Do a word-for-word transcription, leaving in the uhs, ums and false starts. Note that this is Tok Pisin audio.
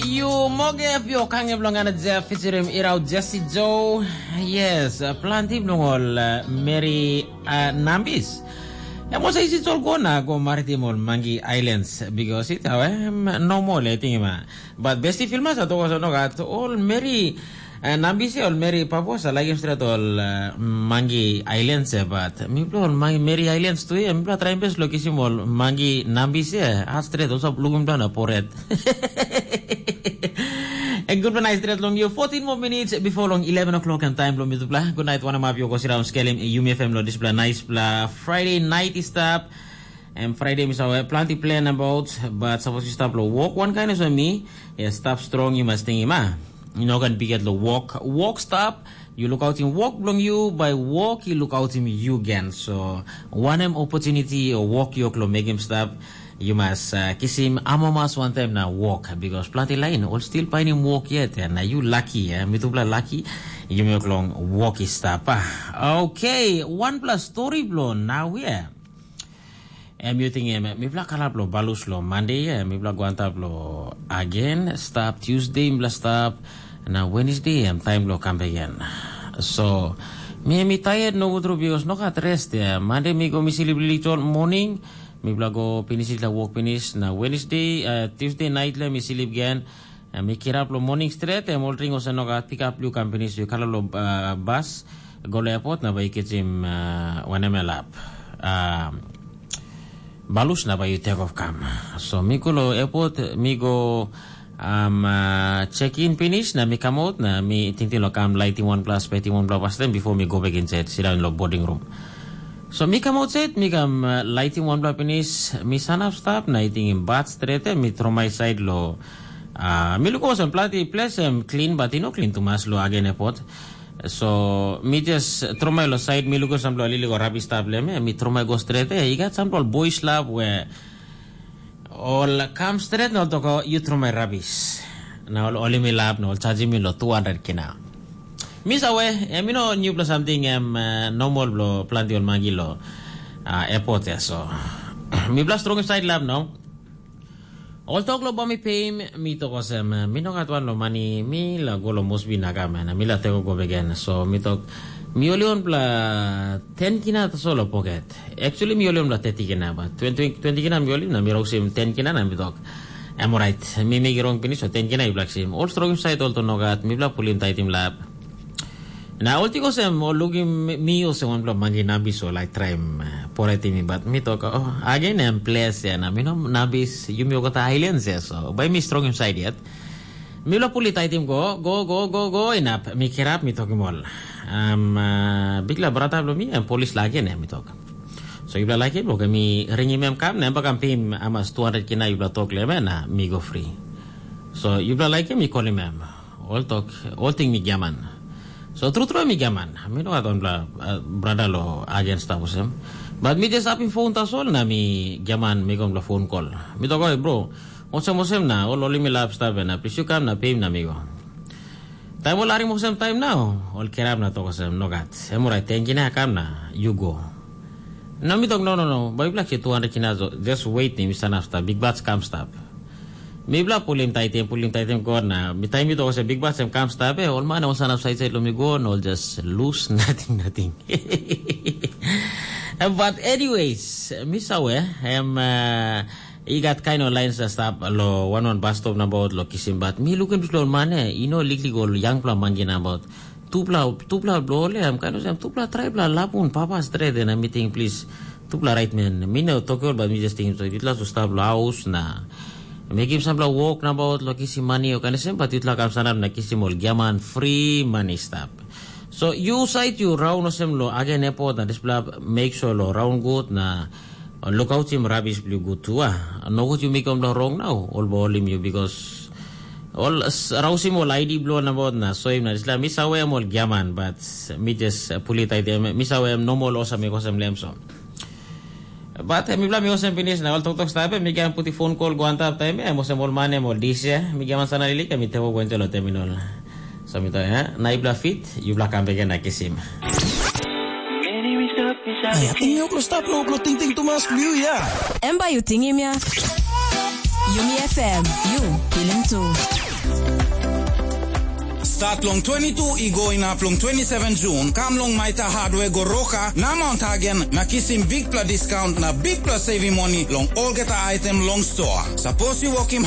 Yu moge pio kange bilong ana Jeff featuring Irau Jesse Joe. Yes, uh, planti bilong ol uh, Mary uh, Nambis. Em olsem isi tol go na go maritim ol Mangi Islands because it how em normal e ting ma. But besti filma sa toko sa no gat ol Mary uh, Nambis e ol Mary Papua sa lagim stret ol uh, Mangi Islands e but mi plo ol Mangi Mary Islands tu e mi pla traim bes lo kisim ol Mangi Nambis e a stret ol sa lugim dan a poret. En gutpela nais stret long you. Fourteen more minutes before long eleven o'clock and time long mitupela. Good night, wanam up your gosi round skelim. Yumi F M lo dispela nice pla Friday night is stap. And Friday mi sawe planti plan about, but suppose you stop lo walk one kind of me. Yeah, stop strong, you must think ma. You know can be get lo walk. Walk stop. You look out in walk belong you, by walk you look out in you again. So, one em opportunity or walk your lo make him stop. You must uh, kisim amo mas wantaim na walk because planti lain ol still painim walk yet and na you lucky eh? Mitupela lucky you make long walk is stap ah. Okay, one plus story blo now yeah. Em you think em mipela kalap lo balus lo Monday eh? Mipela go antap lo again stap Tuesday mipela stap na Wednesday em time lo come again. So mi mi tired no go through because no got rest eh? Monday mi go mi sleep little morning. Mipela go pinis la wok pinis na Wednesday, uh, Tuesday night la mi silip gen. Uh, mi kirap lo morning stret, em ol ring osa no gat pick up lu kam pinis yu kala lo uh, bus go lo airport na bai kitim uh, wanem elap. Uh, balus na bai yu take off kam. So mi go lo airport, mi go um, uh, check in pinis na mi come out na mi tingting lo kam lighting one plus, peti one plus then before mi go back inside, sit down lo boarding room. So mi kam outsaid, mi kam uh, laitim wanpela pinis, mi sanap stap na i tingim bat stret, mi tromai said lo. Uh, mi luko olsem planti ples em klin, bat i no klin tumas lo agen epot. So mi just tromai lo side, mi luko sampela lili go rabi stap lem, mi tromai go stret, i gat sampela boys lab where ol kam stret na ol toko yu tromai rabis. Na ol olim i lap na ol charging mi lo two hundred kina. Mi sawe, em you know new plus something em uh, normal blo planti ol magi lo uh, airport ya so. Mi bla strong side lap no. Ol tok lo bomi pay mi tok osem, uh, mi no gat wan lo mani mi la go lo Mosbi na kam na mi la teko go begen. So mi tok mi oli on bla ten kina tasol lo pocket. Actually mi oli on bla thirty kina, but twenty, twenty kina mi oli na mi rausim ten kina na mi tok. Em orait, mi mekim rong pinis, so ten kina i blaksim. Ol strong side ol to nogat, mi bla pulim taitim lap. Na ol tik osem, ol lukim mi osem wan bla mangi nabis o lai traim uh, poretim mi, but mi tok, oh, again em ples ya na, mi no nabis, yumi okata islands ya, so bai mi strong side yet. Mi lo puli taitim go, go, go, go, go, inap, mi kirap, mi tokim ol. Um, uh, bikla brata blo mi, em polis lage ne, mi tok. So yupela laikim, oke, mi ringim em kam, na em bakam pim amas two hundred kina yupela tok lem, na mi go fri. So yupela laikim, mi kolim em. Ol tok, ol ting mi giaman. So tru tru mi giaman. Mi no gat wanpela uh, brada lo agen stap olsem. But mi just apim phone tasol, na mi giaman mi go wanpela phone call. Mi tok, oi bro, olsem olsem na, ol olim mi lap stap, na plis yu kam na pim na mi go. Taim ol harim olsem taim nau, ol kirap na tok olsem, nogat. Em orait tenki na kam na, yu go. Na mi tok, no, no, no, bai bilak si two hundred kina, just wait ni, mi sanap stap, big bats kam stap. Mi bilak pulim taitim, pulim taitim go na, mi taim mi tok olsem, big bats em kam stap, eh, ol man ol sanap sait sait lo mi go, na ol just lose, nothing, nothing. But anyways, mi sawe, em, uh, I gat kain ol lain sa stap lo wan wan bus stop nabaut lo kisim bat mi lukim dispela ol man ya i no liklik ol yangpela mangi nabaut. Tupela tupela bilong ol ya em kain olsem tupela traipela lapun papa stret na mi ting plis tupela raitmen mi no toki ol bat mi jes tingim so yutla su stap lo haus na mekim sampela wok nabaut lo kisim mani o kain olsem bat yutla kam sanap na kisim ol giaman fri mani stap. So yu sait yu raun olsem lo agen epot na dispela make sure lo raun gut na lukautim rabis bilong gut tu a. Nogut yu mekim long rong nau ol bai holim yu bikos ol rausim ol aidi bilong nabaut na soim na dispela mi sawem ol giaman bat mi jes pulit aidem mi sawem nomol olsem mi kosem lem so. Bat em mipela mi olsem pinis na ol toktok stap em mi ken putim fon kol go antap taim em olsem ol man em ol dis ya mi giaman sana lilik em mi tewo go into lo terminal. So mi to ya na ibla fit yupela kam beken na kisim. Ai, ating yau lo stap lo lo ting ting tumas liu ya. Em bai yu tingim ya. Yumi F M, yu pilim tu. Stat long twenty-two i go inap long twenty-seven Jun, kam long Maita Hardware go Roka na Mount Hagen na kisim bikpela discount na bikpela saving money long olgeta item long store. Sapos yu wokim